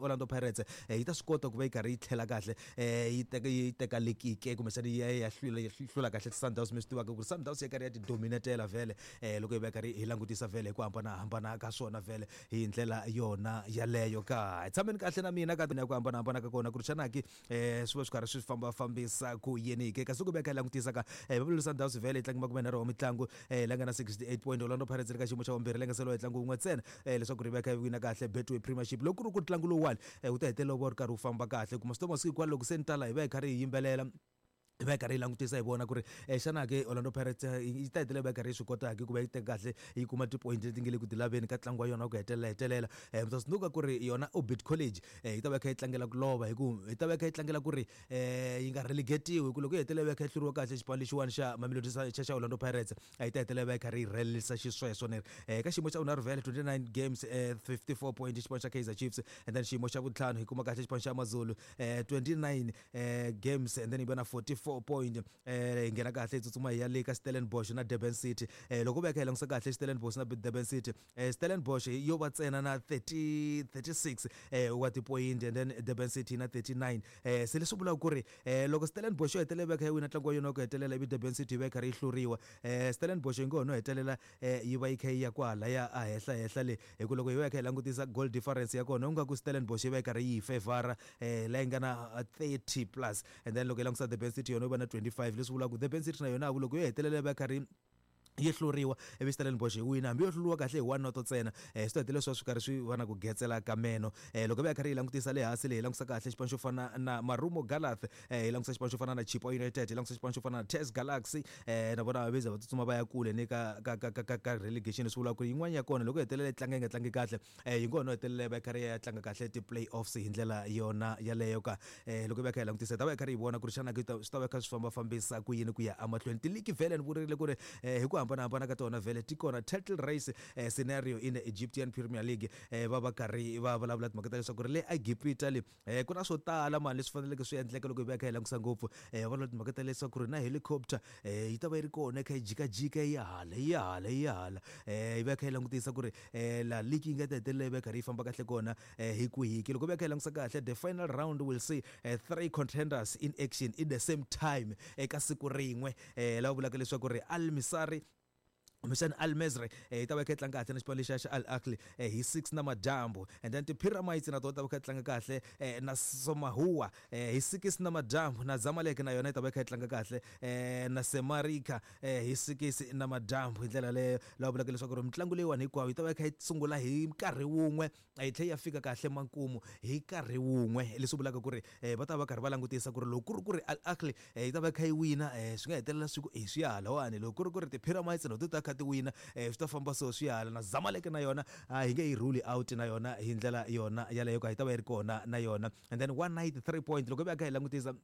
Orlando Pirates yi ta swi kota ku va yi karhi yi tlhela kahle yi teka yi teka lekike kumbexana yi ya yi ya hlula yi hlula kahle Sundowns. Mi swi tivaka ku ri Sundowns ya karhi ya ti dominatela vhele loko hi va karhi hi langutisa vhele hi ku hambanahambana ka swona vhele hi ndlela yona yaleyo ka. Hi tshameni kahle na mina ka ku hambanahambana ka kona ku ri xana ki swi va swi karhi swi fambafambisa ku yini ke. Kasi ku veka hi langutisa ka Mamelodi Sundowns vhele yi tlange 30 wa mitlangu la nga na 68 point. Orlando Pirates ri ka xiyimo xa vumbirhi la nga seliwa hi ntlangu wun'we ntsena leswaku ri veka yi wina kahle Betway Premiership. Loko ku ri ku ntlangu lowuwani wu ta hetelela wu va wu ri karhi wu famba kahle kuma swi masiku hinkwawo loko se ni tala hi va hi karhi hi yimbelela, hi va hi karhi hi langutisa hi vona ku ri xana ke Orlando Pirates yi ta hetelela yi va yi karhi yi swi kota ke ku va yi teka kahle yi kuma ti-point leti nge le ku ti laveni ka ntlangu wa yona wa ku hetelela hetelela. Mi ta tsundzuka ku ri yona Orbit College yi ta va yi kha yi tlangela ku lova hi ku yi ta va yi kha yi tlangela ku ri yi nga relegate-iwi hi ku loko yi hetelela yi va yi kha yi hluriwa kahle xipano lexiwani xa Mamelodi xa xa Orlando Pirates a yi ta hetelela yi va yi karhi yi rhelelisa xisweswo ni ri ka xiyimo xa vunharhu vhele 29 games 54 point xipano xa Kaizer Chiefs, and then xiyimo xa vuntlhanu hi kuma kahle xipano xa AmaZulu 29 games and then yi va na 44 point. Hi nghena kahle hi tsutsuma hi ya le ka Stellenbosch na Durban City. Loko va kha hi langutisa kahle Stellenbosch na Durban City, Stellenbosch yo va ntsena na 30 36 wa tipoyinti and then Durban City na 39. Se leswi vulaka ku ri loko Stellenbosch yo hetelela yi va kha yi wina ntlangu wa yona wa ku hetelela ivi Durban City yi va yi karhi yi hluriwa, Stellenbosch yi ngo ho no hetelela yi va yi kha yi ya kwahalaya a henhla henhla le hi ku loko hi va hi kha hi langutisa goal difference ya kona u nga ku Stellenbosch yi va yi karhi yi favor la yi nga na 30 plus, and then loko hi langutisa Durban City yona yi va na 25, leswi vulaka ku Durban City na yona loko yo hetelela yi va yi karhi yi hluriwa ivi Stellenbosch yi wina, hambi yo hluriwa kahle hi one noto ntsena, swi ta hetelela swi va swi karhi swi va na ku getsela ka meno. Loko hi va hi karhi hi langutisa le hansi le hi langutisa kahle xipano xo fana na Marumo Gallants, hi langutisa xipano xo fana na Chippa United, hi langutisa xipano xo fana na TS Galaxy, na vona va viza va tsutsuma va ya kule ni ka ka ka ka ka relegation, leswi vulaka ku yin'wana ya kona loko yi hetelela yi tlanga yi nga tlangi kahle yi ngo ho no hetelela yi va yi karhi yi ya tlanga kahle ti-playoffs hi ndlela yona yaleyo ka. Loko hi va hi kha hi langutisa hi ta va hi karhi hi vona ku ri xana swi ta va kha swi fambafambisa ku yini ku ya emahlweni. Tiligi vhele ni vurile ku ri hi ku hambanahambana ka tona vhele ti kona. Title race scenario in the Egyptian Premier League, va va karhi va vulavula timhaka ta leswaku ri le Egipta le ku na swo tala mani leswi faneleke swi endleka loko hi va hi kha hi langutisa ngopfu. Va vulavula timhaka ta leswaku ri na helicopter yi ta va yi ri kona yi kha yi jikajika yi ya hala yi ya hala yi ya hala, yi va yi kha yi langutisa ku ri laha league yi nga ta hetelela yi va yi karhi yi famba kahle kona hi kwihi ke. Loko va kha hi langutisa kahle, the final round will see three contenders in action in the same time eka siku rin'we, lava vulaka leswaku ri Al Misari kumbexana Al Mesri yi ta va yi kha yi tlanga kahle na xipano lexiya xa Al Ahly hi 6 namadyambu, and then ti-Pyramids na tona ta va kha yi tlanga kahle na Somahua hi 6 namadyambu, na Zamalek na yona yi ta va yi kha yi tlanga kahle na Semarika hi 6 namadyambu. Hi ndlela leyo lava vulaka leswaku ri mitlangu leyiwani hinkwayo yi ta va yi kha yi sungula hi nkarhi wun'we yi tlhela yi ya fika kahle makumu hi nkarhi wun'we, leswi vulaka ku ri va ta va karhi va langutisa ku ri loko ku ri ku ri Al Ahly yi ta va yi kha yi wina swi nga hetelela swi ku e swi ya halawani, loko ku ri ku ri ti-Pyramids na ti ta kha ti wina swi ta famba so swi ya hala, na Zamalek na yona a hi nge yi rule out na yona hi ndlela yona yaleyo ka yi ta va yi ri kona na yona. And then one night three point loko hi va kha hi langutisa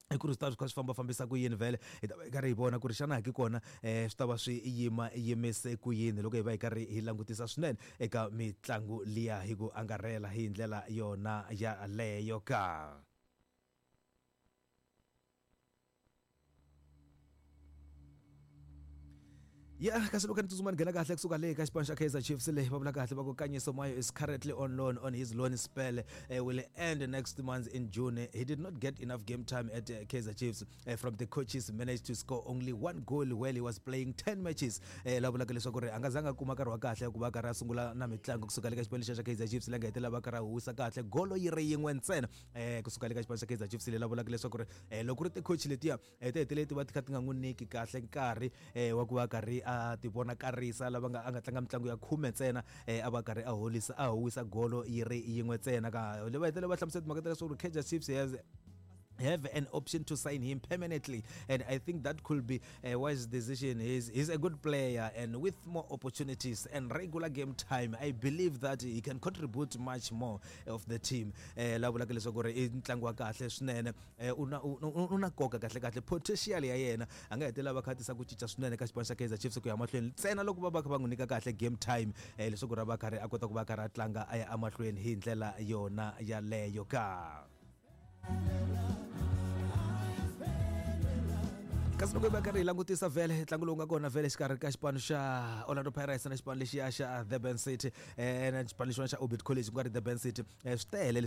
i ku ri swi ta swi kha swi fambafambisa ku yini vhele, hi ta va hi karhi hi vona ku ri xana ki kona swi ta va swi yima yimise ku yini loko hi va hi karhi hi langutisa swinene eka mitlangu liya hi ku angarhela hi ndlela yona yaleyo ka. Ya kasi loko ni tsutsuma ni nghena kahle kusuka le ka xipano xa Kaizer Chiefs le va vula kahle va ku Kanyiso Mayo is currently on loan on his loan spell will end next month in June. He did not get enough game time at Kaizer Chiefs from the coaches, managed to score only one goal while he was playing 10 matches. La vulaka leswaku ri a nga zanga kuma nkarhi wa kahle ku va karhi a sungula na mitlangu kusuka le ka xipano lexiya xa Kaizer Chiefs la nga hetelela va karhi a huwisa kahle golo yi ri yin'we ntsena kusuka le ka xipano xa Kaizer Chiefs le la vulaka leswaku ri loko ku ri ti-coach letiya ti hetelele ti va ti kha ti nga n'wi nyiki kahle nkarhi wa ku va karhi a ti vonakarisa lava nga a nga tlanga mitlangu ya khume ntsena a va karhi a holisa a howisa golo yi ri yin'we ntsena ka va hetelele va hlamusela timhaka ta leswaku Kaizer Chiefs has have an option to sign him permanently, and I think that could be a wise decision. He's a good player, and with more opportunities and regular game time, I believe that he can contribute much more of the team. La vulaka leswaku ri i ntlangu wa kahle swinene, u na u na nkoka kahle kahle, potential ya yena a nga hetelela va kha tisa ku cinca swinene ka xipano xa Kaizer Chiefs ku ya mahlweni ntsena loko va va kha va n'wi nyika kahle game time leswaku ri va karhi a kota ku va karhi a tlanga a ya emahlweni hi ndlela yona yaleyo ka. Kasi loko hi va karhi hi langutisa vhele ntlangu lowu nga kona vhele exikarhi ka xipano xa Orlando Pirates na xipano lexiya xa Durban City na xipano lexiwani xa Orbit College ku nga ri Durban City, swi tele.